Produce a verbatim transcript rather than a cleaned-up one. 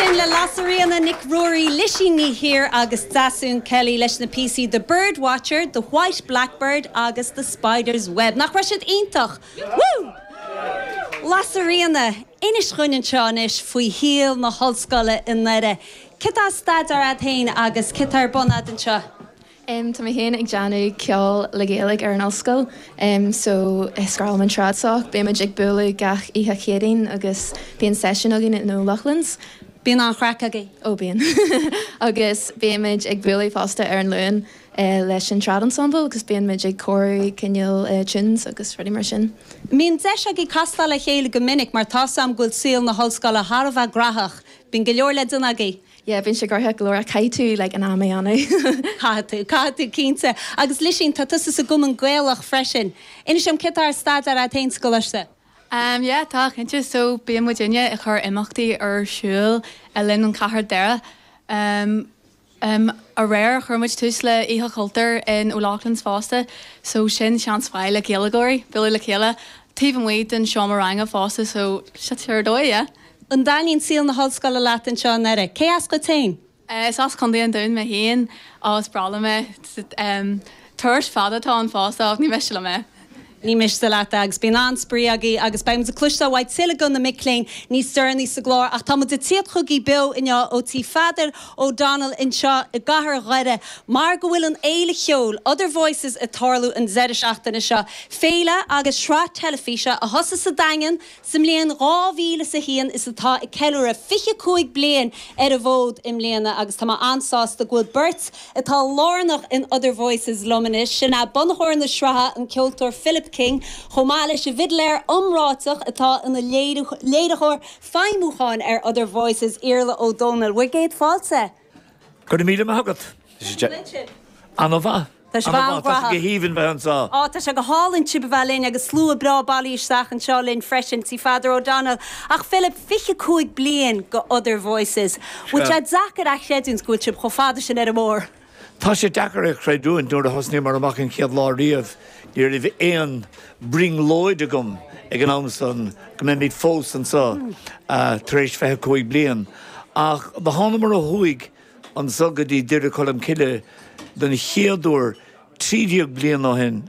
sin le Lasairfhíona Nic Ruairí Lisín Ní hÍr agus Deasún Kelly leis na píosaí The Bird Watcher, The White Blackbird agus The Spider's Web. Nach raibh siad iontach! Woo! Lasairfhíona, inis dúinn anseo anois faoi shaol na hollscoile i nDoire. Cad atá á staidéar agat féin agus cad atá ar bun agat anseo? Um, tá mé féin ag déanamh ceol le Gaeilge ar an ollscoil, um, so scráil an tradsoc, Beimid ag bualadh gach oíche Chéadaoin agus bíonn session againn in O'Loughlin's. Bíonn an-chraic agaibh. Ó bíonn. agus bímid ag bualadh fosta ar an Luan uh, leis an trad ensemble agus bíonn ag cóiriú cineál uh, tunes agus rudaí mar sin. Mbíonn deis agaibh castáil le chéile go minic mar tá am go bhfuil saol na hollscoile thar a bheith gnóthach, Bíonn go leor le déanamh agaibh. Yeah, bíonn sé gnóthach go leor caithfidh tú like, an am a dhéanamh. Caithfidh tú, caithfidh tú cinnte, agus Lisín tá tusa sa gCumann Gaelach freisin. Inis dom cad atá á staidéar agat féin sa gcoláiste. Um, yeah, tá cinnte so bíonn muidinne ag cur imeachtaí ar siúl le linn an Cathair Doire. Um, um, aréir chuir muid tús le Oíche Chultúir in O'Loughlin's fosta, so sin seans maith le Gaeilgeoirí, bualadh le chéile, taobh amuigh den seomra ranga fosta so se ar dóigh, yeah. An dtaitníonn saol na hollscoile leat anseo i nDoire. Cé as duit féin? Uh, is as Contae an Dúin mé féin agus breá liom é um, turas fada atá ann fosta ach ní miste liom é. Ní miste leat agus bíonn an-spraoi agaibh agus beidh ag cloisteáil uaidh tuilleadh de na mic léinn níos deireanaí sa gclár ach tá muid ag tíocht chugaibh beo inniu ó Tí Pheadair O'Donnell anseo i gcathair Dhoire mar go bhfuil an fhéile cheoil Other Voices ag tarlú an deireadh seachtaine seo. Féile agus sraith teilifíse a thosaigh sa Daingean sa mbliain dhá mhíle is a haon is atá ag ceiliúradh fiche cúig bliain ar an bhfód i mbliana agus tá mé an-sásta go bhfuil beirt atá lárnach in Other Voices liom anois sin é bunaitheoir na sraithe an ceoltóir Philip King, chomh maith leis an bhfidléir iomráiteach atá ina léiritheoir feidhmiúcháin ar Other Voices Iarla Ó Dónaill. Bhur gcéad fáilte. Go míle maith agat. An-mhaith. Tá sé go haoibhinn bheith anseo. Á tá sé go hálainn sibh a bheith linn agus slua breá bailithe isteach anseo linn freisin Tí Pheadair O'Donnell. Ach Philip fiche cúig bliain go Other Voices. Bhfuil sé deacair a chreidiúint go bhfuil sibh chomh fada sin ar an mbóthar. Tá sé deacair a chreidiúint nuair a thosnaíomar amach an chéad lá riamh, ní raibh aon brionglóid agam ag an am san go mbeimid fós anseo tar éis fiche cúig bliain. Ach do thánamar ó thuaidh anseo go dtí Doire Cholm Cille den chéad uair trí déag bliain ó shin